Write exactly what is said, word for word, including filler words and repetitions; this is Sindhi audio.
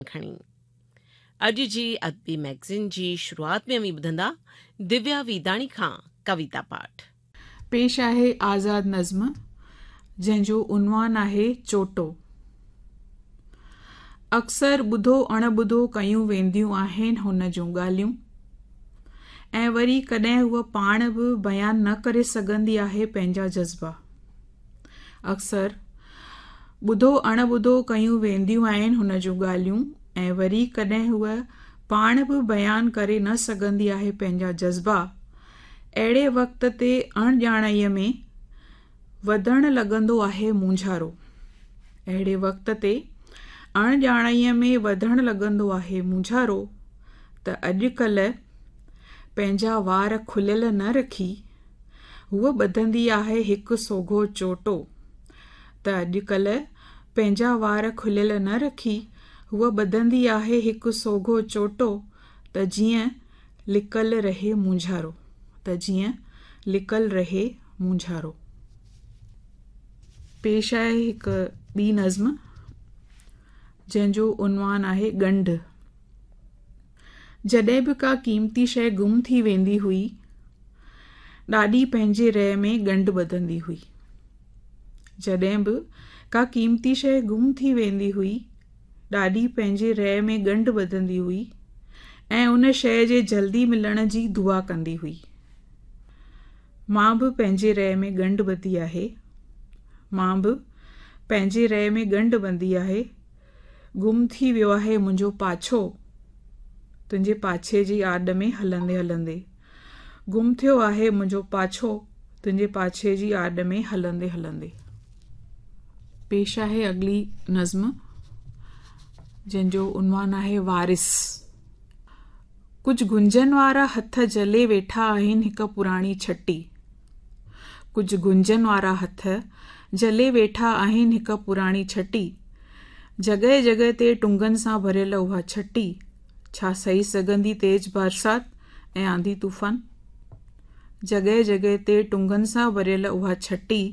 کڻي. اڄ جي ادبي مئگزين جي شروعات ۾ اوهين ٻڌندا دويا ويداڻي کان ڪويتا پاٺ. پيش آهي آزاد نظم، جنهن جو عنوان آهي چوٽو. اڪثر ٻڌو اڻ ٻڌو ڪيون وينديون آهن هن جون ڳالهيون، ۽ وري ڪڏهن هوء پاڻ به بيان نه ڪري سگهندي آهي پنهنجا جذبا. اڪثر ٻڌو اڻ ٻڌو ڪيون وينديون آهن هن جون ڳالهيون، ۽ وري ڪڏهن هوء پاڻ به بيان ڪري نه سگهندي آهي پنهنجا جذبا. اهڙي وقت تي اڻڄاڻائيء ۾ وڌڻ لڳندو آهي مونجهارو. اهڙي وقت تي اڻڄاڻائيء ۾ وڌڻ لڳندو آهي مونجهارو. ته اڄڪلهه پنهنجا وار کليل نه رکي هوء ٻڌندي آهي هڪ سوگهو چوٽو. ته اڄڪلهه پنهنجا وار کليل نه رکي هوء ٻڌندي آهي هڪ سوگهو چوٽو، ته جيئن لڪل رهي مونجهارو. ته جيئن لڪل رهي مونجهارو. پيش آهي هڪ ٻي نظم، جنهن جو عنوان آهي ڳنڍ. جڏهن به ڪا قيمتي شيء گم ٿي ويندي هئي، ڏاڏي پنهنجي رئي ۾ ڳنڍ ٻڌندي هئي. جڏهن به ڪا قيمتي شيء گم ٿي ويندي هئي، ڏاڏي پنهنجي رئي ۾ ڳنڍ ٻڌندي هئي ۽ ان شيء جي جلدي ملڻ جي دعا ڪندي هئي. مان به پنهنجي رئي ۾ ڳنڍ ٻڌي آهي. مان به پنهنجي رئي ۾ ڳنڍ ٻڌي آهي. گم ٿي ويو آهي منهنجو پاڇو، تنهنجي پاڇي جي آڏ ۾ هلندي هلندي. گم ٿيو آهي منهنجو پاڇو، تنهنجي پاڇي جي آڏ ۾ هلندي هلندي. پيش آهي اڳلي نظم، جنهن جو عنوان آهي وارث. ڪجهه گهنجن وارا هٿ جهلي ويٺا آهن هڪ پراڻي ڇٽي. ڪجهه گهنجن وارا هٿ جهلي ويٺا آهن هڪ پراڻي ڇٽي. جڳهه جڳهه تي ٽنگن سان ڀريل اها ڇٽي ڇا سهي سگهندي تيز برسات ۽ آنڌي طوفان؟ جڳهه جڳهه تي ٽنگن سان ڀريل اها ڇٽي